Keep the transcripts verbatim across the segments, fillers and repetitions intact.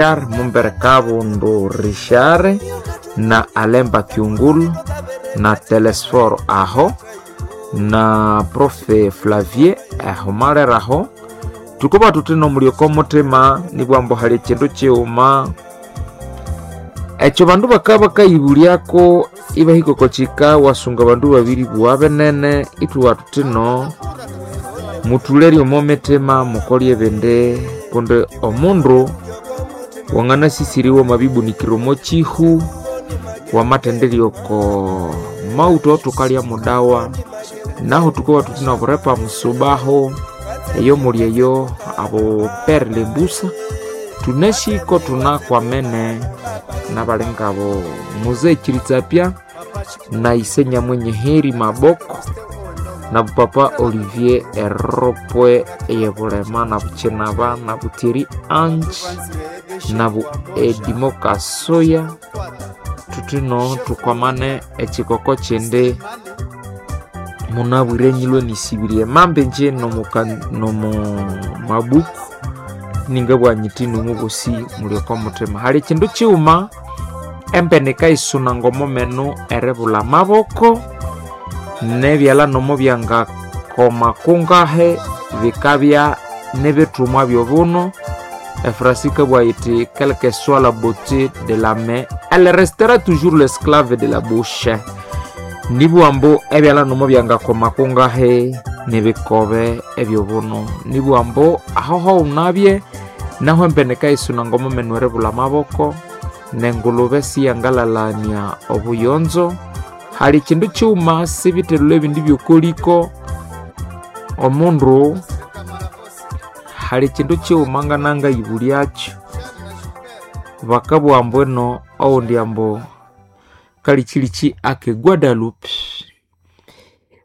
Mumbere Kabundu Richard na Alemba Kyungulu na Telesforo aho na Profe Flavier aho maleraho tukuba tuti nomulyoko mutima nibwambo hali ekindu kighuma ekyo bandu bakaba bakayibulyako ibahika oko kika wasunga bandu babiri bugha binene ithubugha thuthi no muthulerye omo mitima mukolye ebindi kundi omundu wanganasisiriwa amabibunikira omo kihu wamathendirya oko mauta awathukalya mudawa nahu thukowa thuthi noburepa musubahu eyo muli eyo abo pere lembusa tunashiko tunakwamene nabali ngabo muzee Kiritsapya na ise Nyamwenye Heri Maboko na papa Olivier Eropwe eyebulema na Buchinaba na Butiri Ange na bu Edimo Kasoya tutino tukwamane ekikoko kindi munabwire nyilwe nisibirie mambe nje nomu mabuku ningabwa nyiti nomubosi mulioko mutima hali ekindu kighuma empene ikayisuna ngomomenu eribulha amaboko nebyalha nomo byangakoma kungahe bikabya nibithumwa byobuno efrasi ikabugha yithi quelque soit la beauté de la main elle restera toujours l'esclave de la bouche nibugha ambu ebyalha nomo byangakoma kungahe nibikobe ebyobuno nibugha ambu aho hawunabye nahu empene ikayisuna ngomomenu eribulha amaboko nengulube siyangalalania obuyonzo hali kindu kighuma sibithelhulha ebindi byokoliko omundu hali kindu kighuma nganangayibulyakyo bakabugha ambu ino oghundi ambu kalikyiliki ake Guadalupe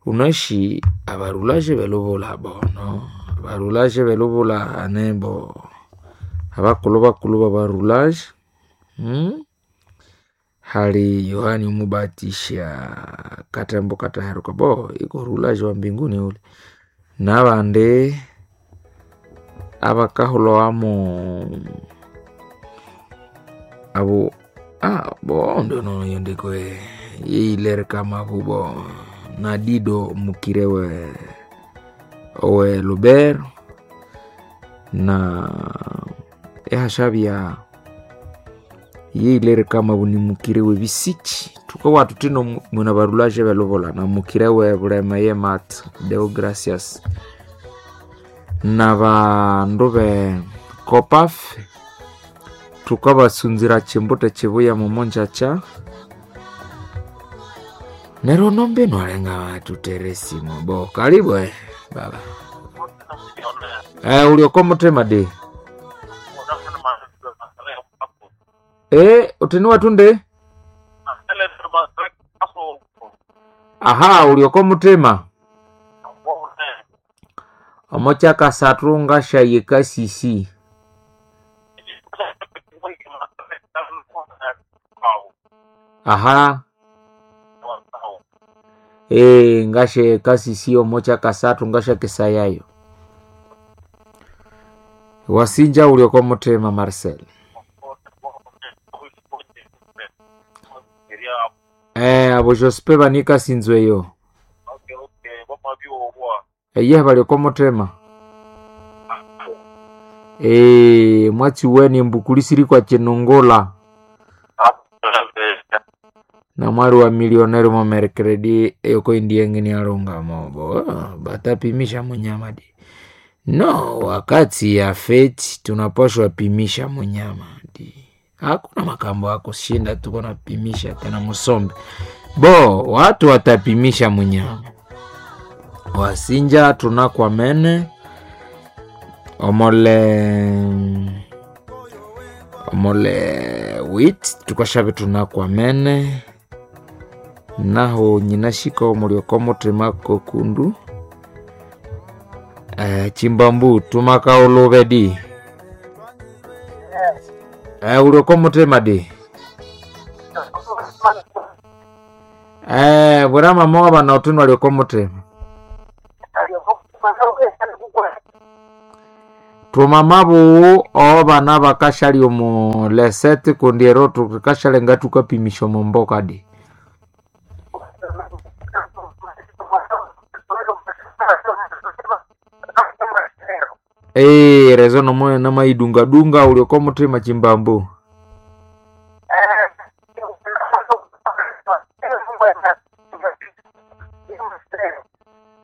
wunasi abarulaje belubula bono abarulaje belubula anembo abakulhu bakulhu babarulaje hmm? Hali Yohani Omubatisha katembo kataheruka bo iko rulaje wa mbinguni ule nabandi abakahulhawamu abo ah, bo ndono yondiko yeyilereka mabubo na Dido mukire we owe Lubero na ehashabya yeyilereka mabu ni mukire we bisiki thukawa thuthi mwina barulaje belubula na mukire we Bulema ye Mat Deo Gracias na bandu be Copaf thukabasunzira chimbute chibuya mumonjacha neryo nombino alenga tuteresimo bo karibu eh, baba eh, ulioko mutima di eh, utini watunde aha ulioko mutima omochakasathu ngashayika sisi aha ee ngasheka sisi omochakasathu ngashakisayayo wasinja ulioko mutima Marcel eh abo Jospe banika sinzweyo eye balioko mutima ee mwatsiweni mbukulisiri kwa chinungula na mwali wa milioneri momerkredi eyoko indiengeni alonga mobo batapimisha munyama di no wakati ya feti tunapashwa pimisha munyama di hakuna makambo akushinda tuko napimisha tena musombe bo watu watapimisha munyama wasinja tunakwamene omole omole wit tukashabe tunakwamene naho nyinashika omulyoko mutima kokundu eh, chimbambu tumakaulube di eh, ulioko mutima di eh, bwera mama wabana utinu alioko mutima Twamamabuwu obana bakashalya omu lesete kundi ero tukashalya tukapimisha omu mboka di. Eh, rezo nomo namaidungadunga ulioko mutima chimbambu.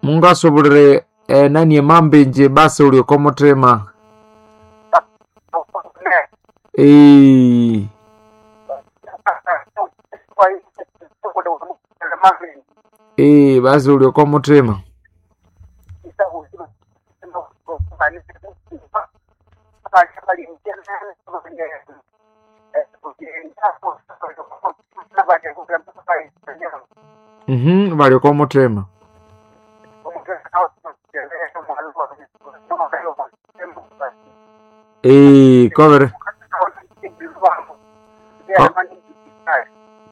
Mungasobulire eh, nani emambenje basi ulioko mutima. Eh, eh, basi ulioko mutima. Mhm, balioko mutima. Eh, kovere.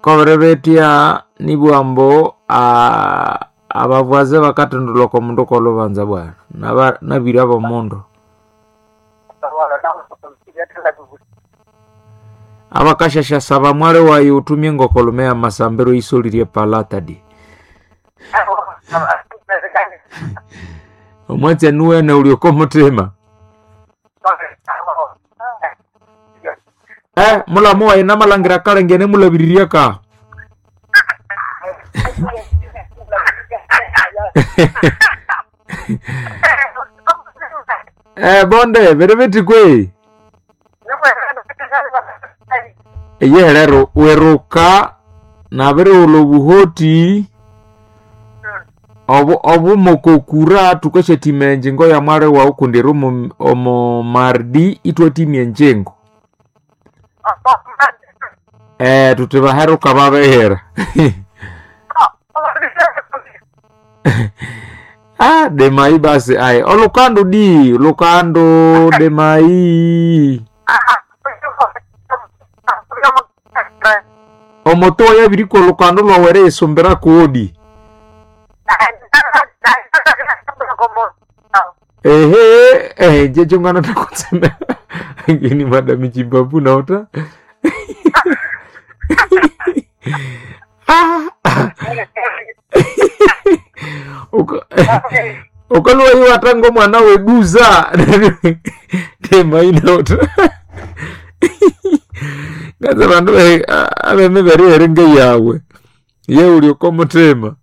Kovere betia nibwambo a abavwaze bakatundulwa kwa mundu kolubanza bwana. Naba nabira bomundu. Abakashasha saba mwale wayi utumie ngokolomea masambiro isolirie palata di. Omwatsi nuwene ulioko mutima. Eh, mulamu wayi namalangira kalengene mulabiriria ka. Eh, bonde, bereveti kwe. Eye lero weruka nabirighulha obuhoti obu obumokokura tukasyathima enjingo ya mwali wawu kundi eri omu omu mardi ithwathimya enjingo. Eh, tuthi baheruka babihira. Ah, demai basi ayi olukandu di lukandu demai omoto yabirikwa olukandu lwawu eriyisumbira kodi. Ehe, eh, jecho ngana takutseme. Ngini madami chimbabu naota. Ah. Uka ukaluwa iwa tango mwana weduza. Tema inaota. Ngaza bandu abeme bari eringe yawe. Ye ulioko mutema.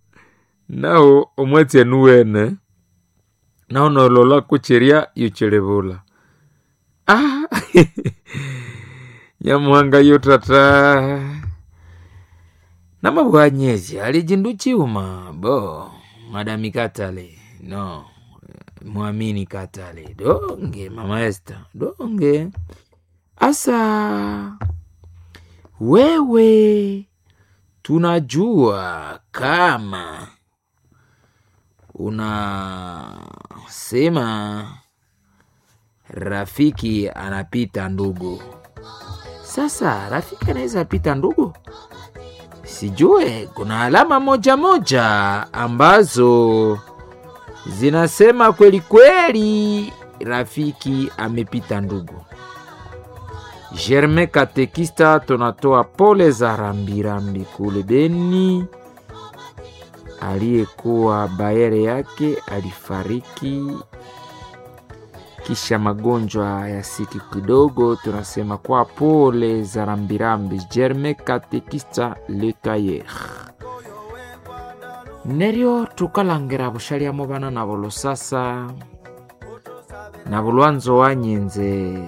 Nawo omwatsi enuwene. Nawo nolola kuchiria yuchilibula. Ah. Nyamuhanga yo tata. Namabwanyezi ali chindu chiuma bo madami Katale no mwamini Katale donge mama Esther donge asa wewe tunajua kama unasema rafiki anapita ndugu. Sasa rafiki anaweza pita ndugu? Sijue, kuna alama moja moja ambazo zinasema kweli kweli rafiki amepita ndugu. Germain Katekista, tunatoa pole za rambirambi kule Beni. Aliyekuwa bayere yake alifariki kisha magonjwa ya siku kidogo. Tunasema kwa pole za rambirambi Germain Katekista Le Tailleur. Neryo tukalangira bushalyamo bana nabo lusasa na bulwanzo wanyenze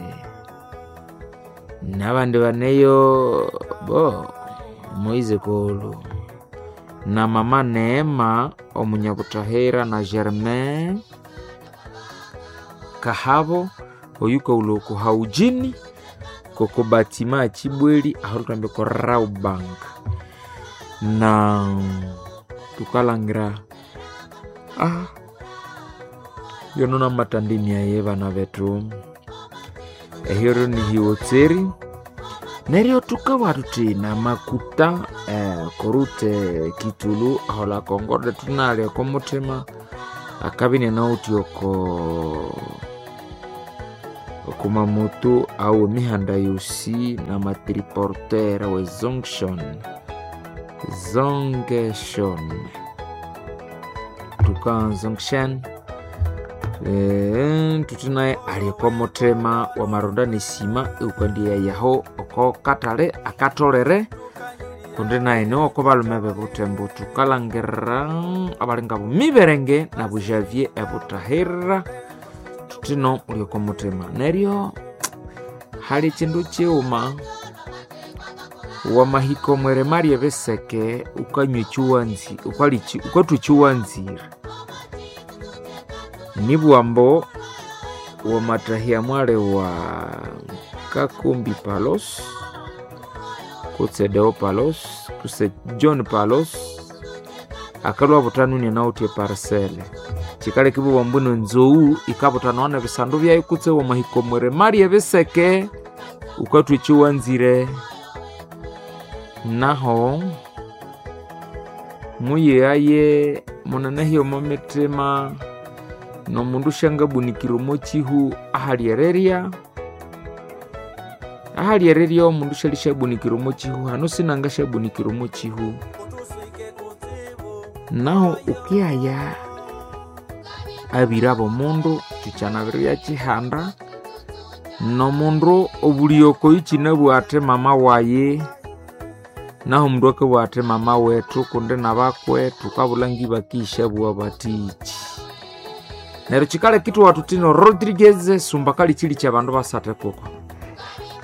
nabandi baneyo bo Moize Kolo na mama Neema omunyabutahera na Germain Kahabo oyuka ulo haujini koko batima achibweli aho tukambe ko Rawbank na tukalangira ah yonona matandimi aye bana betu ehiro ni hiwotseri neryo tukawa tuti na makuta eh, korute kitulu ahola kongorde tunalya komutima akabine nauti oko Okumamoto awo emihanda yosi n'amatriporteur we zonction zongeshon tuka zonction Eh, tuti naye ali oko muthima wamaronda nesima eukandiya yaho oko katale akatolere kundi naye niwo oko balume bebutembo tukalangirira abalinga bumiberenge nabu Javier ebutahira tutino uli oko muthima neryo hali ekindu kighuma wamahika omwirima ryebiseke ukanywa ekiwanzi ukalya ukathwa ekiwanzire nibwambo wamatahya mwali wa Kakumbi Palos kutse Deo Palos kutse John Palos akalwa butanuni nawuthe parcele kikaleka ibwa mbwino nzou ikabutanawa nebisandu byayo kutse wamahika omwirima ryebiseke ukathwa ekiwanzire naho muyighaye munanahye omo mitima nomundu syangabunikira omo kihu ahalyerirya ahalyerirya omundu syalisyabunikira omo kihu hano sinangasyabunikira omo kihu naho ukiyaya abira bomundu kikyanabiribya byakihanda nomundu obulyoko ikinabugha athi mama wayi naho omundu akabugha athi mama wethu kundi nabakwe thukabulha ngibakishabugha bathiki neryo kikaleka ithwathuthino Rodriguez sumba kali chili kya bandu basathe kuko